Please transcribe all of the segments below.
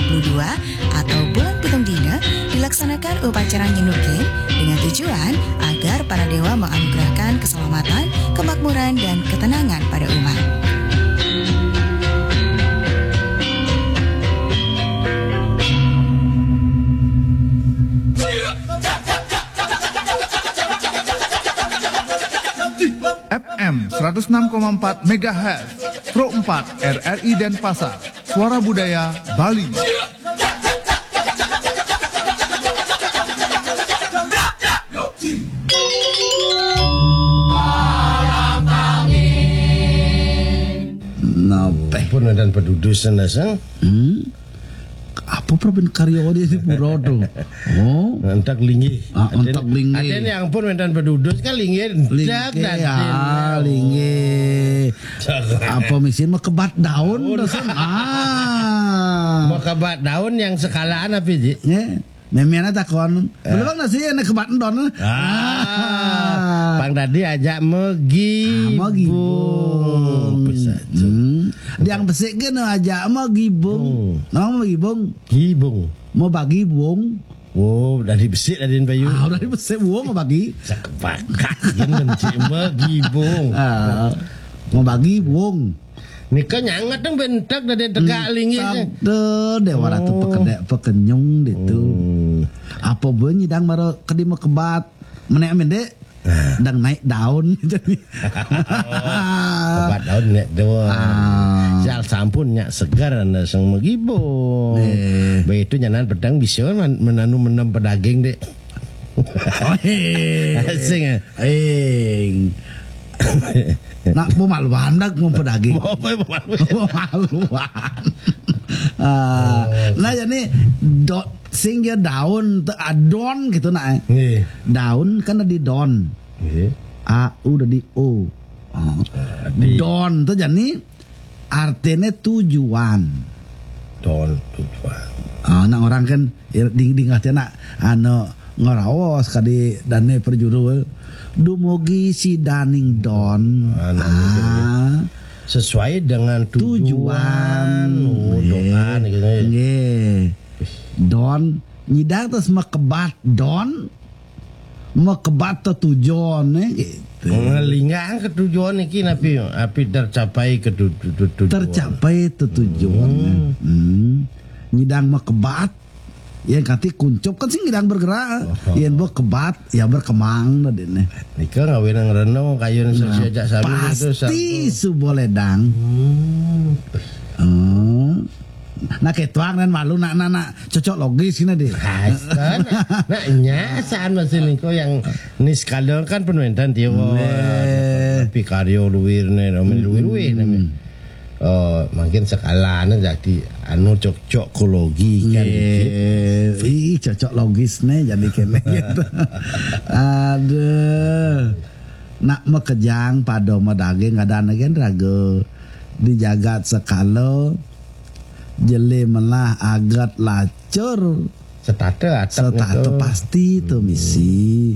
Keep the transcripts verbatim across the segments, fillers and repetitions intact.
dua atau bulan pitung dina dilaksanakan upacara nyenukin dengan tujuan agar para dewa menganugerahkan keselamatan, kemakmuran, dan ketenangan pada umat. F M seratus enam koma empat megahertz, Pro empat R R I Denpasar, Suara Budaya Bali. Napeh. Pun dan pedudus sana sang. Hmm? Apa problem karya dia di pura tu? Oh, Entak linggih. Ah, entak linggih. Ada ni ampun mentan pedudus kan linggih. Linggih, ah, linggih. Apa mesin mah kebat daun dosen. Ah. Mau kebat daun yang sekalaan apa ji? Ya. Memiana takon. Belum nasi nak kebat daun. Ah. Pang tadi ajak megi. Ah, megi bung. Hmm. Yang besik ke nak ajak megi bung. Nama megi bung? Gibung. Mau bagi bung. Oh, dari besik dari Bayu. Ah, udah besik bung mau bagi. Sekepakat yang mencik megi bung. Ah. Mau bagi bung. Nika nyangat dong bentak dari tegak linggih. Tak de dewa ratu pekedek pekenyung ditu. Apa bunyi dang baru kedi mau kebat. Menek mendek. Dang naik daun jadi. Kebat daun nek doang. Ah. Sial sampun nyak segar anda sang megibung. Eh. Baik itu nyanan pedang bisa man- menanu menam pedaging dek. Oh, eh. Sing eh. Eh. Nak pemaluan dak mau pedaging. Apa yang malu? Pemaluan. Ah, nah jadi dot sing ya daun te adon gitu nak. Eh. Nggih. Daun kan ada di don. Nggih. A U ada di O. Oh. di- Don tu jadi artinya tujuan. Don tujuan. Ah, nak orang kan ya, ding ding artinya nak anu ngerawas kadi dane perjuru. Dumugi si daning don. Ah, nah, Ah. Sesuai dengan Tujuan. tujuan. Oh, doa nih gitu ya. Nggih. Don nyidang terus mekebat don mekebat tujuan eh, gitu. Ngelingang ke tujuan iki napi api tercapai ke tu- tu- tu- tujuan. Tercapai tujuan. Hmm. Nyidang mekebat yang kati kuncup kan sing nyidang bergerak. Yang buat kebat ya berkembang tadi nih. Nika ngawin nang reno kayu nang sesi ajak sami itu Pasti subo ledang. Hmm. Nah, ketuang dan malu nak nak nak cocok logis ini deh. Nah, nya saan masih niko yang niskala kan penuentan tiwa. Nggih. Tapi karyo luwir ne, luwir luwir ne. Oh, mungkin sekalane jadi anu cocokologi kan dikit. Eh, ih cocok logis nih jadi kene gitu. Aduh. Nak mekejang pada medaging ada negen raga di jagat sekala jeli melah agat lacur Setata atap setata itu. Pasti tu misi.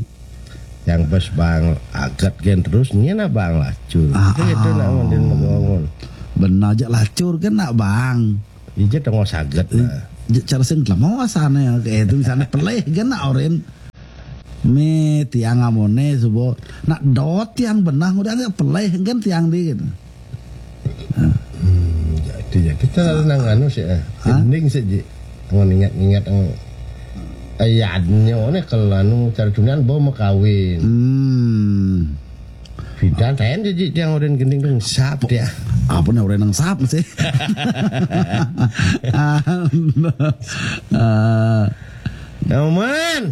Yang bos bang agat gen terus nyena bang lacur. Ah, Itu itu ah. Nak mending ngebangun. Benar je lacur kan nak bang. Ije tengok saget lah. Je- Cara sing lama sana ya kayak itu misalnya pelih kan nak orin. Me tiang amone subo nak dot tiang benah udah nggak pelih kan tiang di gitu. Hmm, jadi ya kita nang anu sih. Eh. Mending sih ji. Mau ingat-ingat yang ayatnya ne kalau anu cara dunia bawa mau kawin. Hmm. Bidan ten ji tiang orang gending dong sap dia. Apa nih orang yang sap sih? Ah, Aman.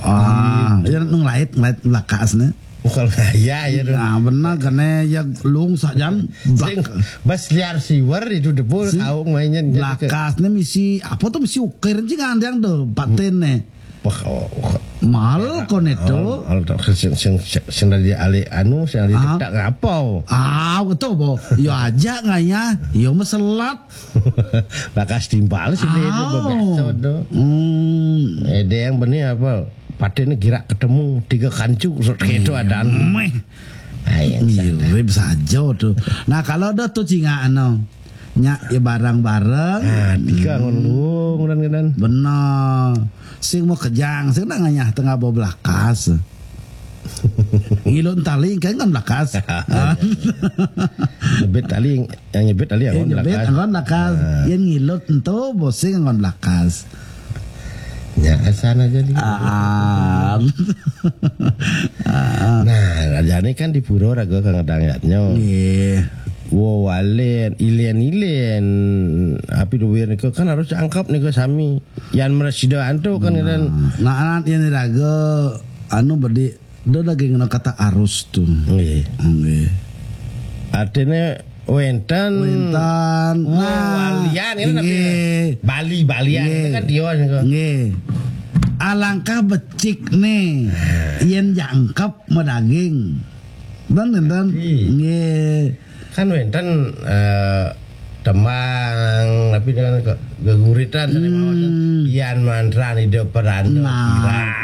ah, ya nung lait lait lakas nih. Bukan ya ya dong. Nah, benar kene ya lung sajan Sing bas liar siwer itu debul Sing kau mainnya jadi ke- lakas nih misi apa tuh misi ukir sih ngandang tuh paten nih. Wah, oh, oh. Mahal kon itu. Al tak sing sing sing dari ale anu sing dari Ah. Tak ngapau. Ah, betul bo. Yo aja nganya. Yo meselat. Bakas timpal sih dia itu Au. bebeso tu. Hmm. Eh dia yang benih apa? Paten ni gerak ketemu tiga kancu sot keto ada. Meh. Ai yang sana. Mirip saja tu. Nah, kalau ada tu cinga anu. Nya ya barang-barang. Nah, tiga ngon luung dan kan. Bener. Sing mau kejang, sing nak nganyah tengah bawa belakas. Ngilut tali kan ngon belakas. Nyebit tali, yang nyebit tali Yang yang nyebit belakang. ngon belakas. Yang ngilut ento bosing ngon belakas. Ya, asana aja nih. Ah. Nah, raja ini kan di pura raga kang ngedang yatnya. Nggih. Wow, walen, ilen-ilen. Api duwir niku kan harus angkep niku sami. Yan meresida antu kan kan. Nah, anak yang raga anu bedi do lagi ngena kata arus tuh. Nggih. Nggih. Artinya wenten. Wenten. Oh, Nah, walian ini tapi nggih. Bali, Balian Nggih. Itu kan dia niku. Nggih. Alangkah becik nih. Yen jangkep medaging. Dan dan. Iya. Nggih. Kan wenten eh, tembang tapi dengan ke- geguritan tadi mawon. Yan mantran ida peranda. Nah,